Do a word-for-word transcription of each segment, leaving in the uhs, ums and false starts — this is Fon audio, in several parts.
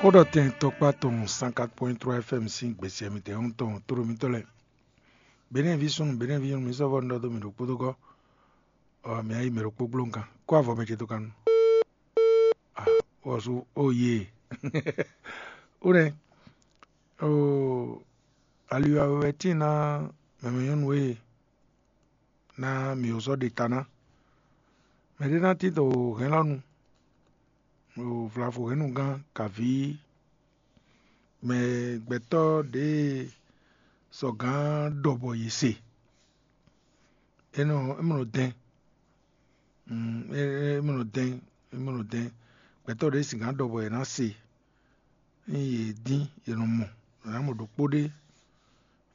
Xó ɖɔ tɛn tɔkpá tɔn cent quatre point trois F M sín gbèsè mitɛn tɔn tló mitɔ́ lɛ́ɛ. Benɛ́ ví súnnu, Benɛ́ ví nyɔ̌nu, mi sɔ́ vɔ́ un ɖɔ dó mi ɖo kpódókɔ́, ɔ, mi ayí mɛ ɖokpó gbló nkan, kó avɔ mɛ ce dó kan nu. Ah, wɔ sú ó yee. Ó nɛ́, oo, ali wɛ wɛ tíin ná mɛmɛ nyɔ́nu e ná mǐ ó sɔ́ ɖe ta ná. Mɛɖé ná tín dǒ hɛn lɔ nu, ɖo vlavo hɛnnugán kaví mɛ gbɛtɔ́ ɖě sɔgǎn ɖɔ bɔ yě se. É nɔ é mɔ nɔ dɛn, mm, é é mɔ nɔ dɛn, é mɔ nɔ dɛn. Gbɛtɔ́ ɖě singǎn ɖɔ bɔ yě ná se. Ényí yě dín, yě nɔ mɔ, yě ná mɔ ɖokpó ɖé,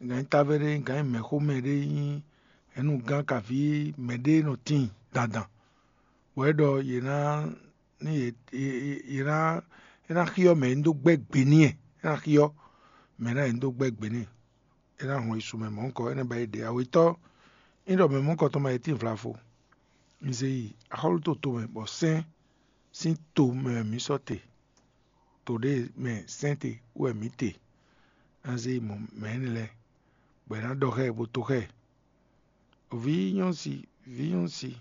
gǎn nyí távé ɖé, gǎn nyí mɛ̌xomɛ ɖé, nyí hɛ̌nnugán kaví mɛɖé nɔ tíin dandan, bɔ é ɖɔ yě ná ní yě yě ná é ná xyɔ́ mɛ e un dó gbɛ́ gbe n'i é, é ná xyɔ́ mɛ ná e un dó gbɛ́ gbe n'i. É ná hɔn yi su mɛ mɔ̌hunkɔ, é ná ba yi ɖe awetɔ́. Ényí ɖɔ mɛ mɔ̌hunkɔ tɔn ma yi tíin vlavo, un zé yi axɔ́lú to tomɛ, bɔ sɛ́n sín to mɛ wɛ mǐ sɔ́ te. To ɖé mɛ sɛ́n te wɛ mǐ te, ná zé yi mɔ mɛ énɛ́ lɛ́ɛ, bɔ è nǎ ɖɔ xá ɛ bó to xá ɛ. Vǐ nyɔ́si, vǐ nyɔ́si,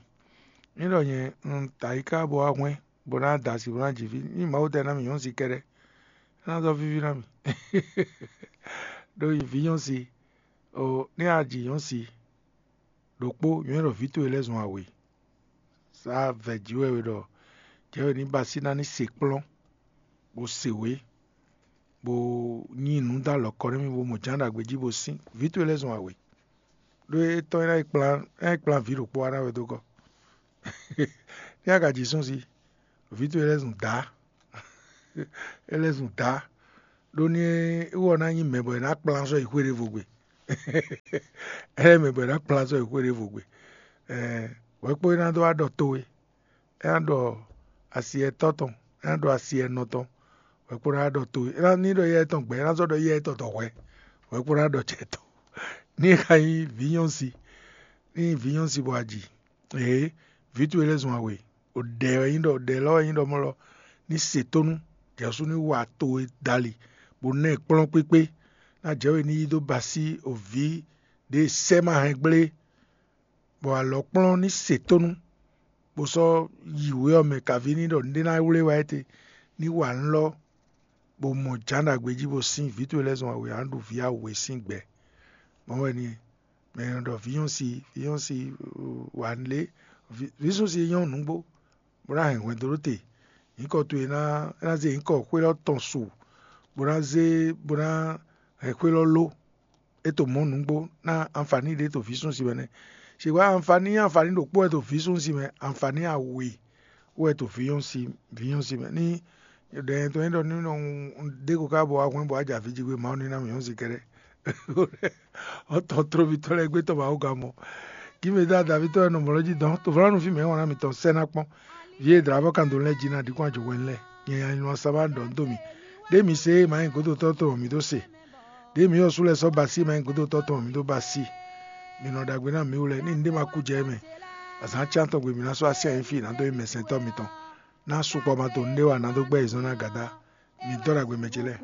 é ɖɔ nyɛ un ta yi ká bó wá hwɛ́n, bó ná da asi bó ná ji vǐ. Ní Mawu tɛ ná mì nyɔ́si kɛ́ɖɛ́, é ná zɔ́ víví ná mì. Ɖó vǐ nyɔ́si, o ní a ji nyɔ́si ɖokpó, nyɔ̌ ɖɔ vǐ towe lɛ́ɛ zɔn awě. Sá vɛ̌ jí wɛ we ɖɔ jɛ̌ we ní ba sí ná ní se kplɔ́n, bó se wě, bó nyí nǔ dó alɔ kɔ nú mì, bó mɔ jǎn ɖagbe jí bó sín. Vǐ towe lɛ́ɛ zɔn awě, ɖó étɔn é ná yi kplán é ná yi kplán vǐ ɖokpó wá ná wɛ dó gɔ́. Ní a ka ji sún sí, vǐ towe lɛ́ɛ zɔn dǎ. É lɛ́ zɔn dǎ, ɖó ní é wɔ ná nyí mɛ bɔ è nǎ kplán sɔ́ yi xwé ɖěvo gbe. É lɛ́ mɛ bɔ è nǎ kplán sɔ́ yi xwé ɖěvo gbe. Hwɛ̌kpó é ná dó wá ɖɔ towe, é ná ɖɔ asi ɛtɔ́ tɔn, é ná ɖɔ asi ɛnɔ tɔn, hwɛ̌kpó ná wá ɖɔ towe. É ná ní ɖɔ yɛ tɔn gbɛ̌, é ná sɔ́ ɖɔ yɛ tɔn tɔn hwɛ̌, hwɛ̌kpó ná ɖɔ jɛ tɔn. Ní é ka nyí vǐ nyɔ́si, ní nyí vǐ nyɔ́si bɔ a ji, Ee, vǐ towe lɛ́ɛ zɔn awě. Ɖɛ wɛ nyí ɖɔ ɖɛ lɔ wɛ nyí ɖɔ mɔ̌ lɔ ní se tónú, jɛ̌ sú ní wa towe dali, bó ná ɛ kplɔ́n kpékpé. Ná jɛ̌ we ní yí dó ba sí ovǐ ɖě sɛ́ ma hɛn gblé, bɔ alɔ̌kplɔ́n ní se tónú, bó sɔ́ yi wě ɔ́ mɛ kaví ní ɖɔ nǔɖé ná wlé wá étɛ́, ní wa nǔ lɔ, bó mɔ jǎn ɖagbe jí bó sín vǐ towe lɛ́ɛ zɔn awě, a nǎ ɖu vǐ awe sín gbɛ. Mɔ̌ wɛ ní e. Mɛ e nɔ ɖɔ vǐ nyɔ́si, vǐ nyɔ́si wa lě, vǐ súnsi e nyɔ́ nǔgbó, bó ná hɛn hwɛndo ɖó te. Nyǐkɔ towe ná é ná zé nyǐkɔ xwé lɔ́ tɔn su, bó ná zé bó ná hɛn xwé lɔ́ ló. É to mɔ̌ nǔgbó ná anfaní ɖé to vǐ súnsi mɛ nɛ́. Cigba anfaní anfaní ɖokpó wɛ to vǐ súnsi mɛ, anfaní awe wɛ to vǐ nyɔ́si vǐ nyɔ́si mɛ. Ní ɖɛ nyɛ tɔn nyí ɖɔ ní nɔ un ɖe ko ká bɔ wá hwɛ́n bɔ wá jɛ avǐ jí gbé, Mawu ní ná mì nyɔ́si kɛ́ɖɛ́. Ɔ́ tɔn tlóvítɔ́ lɛ́ɛ gbé tɔn Mawu gán mɔ. Gímedá Davítɔ́ wɛ nɔ mɔ̌ lɔ jí dɔn, to vlɔ́ nú fí mɛ é wǎn ná mitɔn sɛ́ ná kpɔ́n. Vǐ e dlǎvɔ́ kan dó lɛ́ jí ná ɖi kún ajɔ̌ hwɛ́n lɛ́ɛ. Nyɛ nya nylɔ sa wá ɖɔ nú dó mì. Ɖěe mi se é ma nyí gǒdotɔ́ tɔn mǐ dó se. Ɖěe mǐ yɔ sú lɛ́ɛ sɔ́ ba sí é ma nyí gǒdotɔ́ tɔn mǐ dó ba sí. Mi nɔ ɖagbe ná mǐ wú lɛ́ɛ, ní nǔɖé ma kú jɛ émɛ. Azǎn cyán tɔn gbe mǐ ná sɔ́ así anyí fí ná dó nyí mɛsɛntɔ́ mitɔn. Ná sukpɔ ma to nǔɖé wa ná dó gbɛ́ yě zɔ́n ná gǎdá. Mi dɔ́ ɖagbe mɛ ce lɛ́ɛ.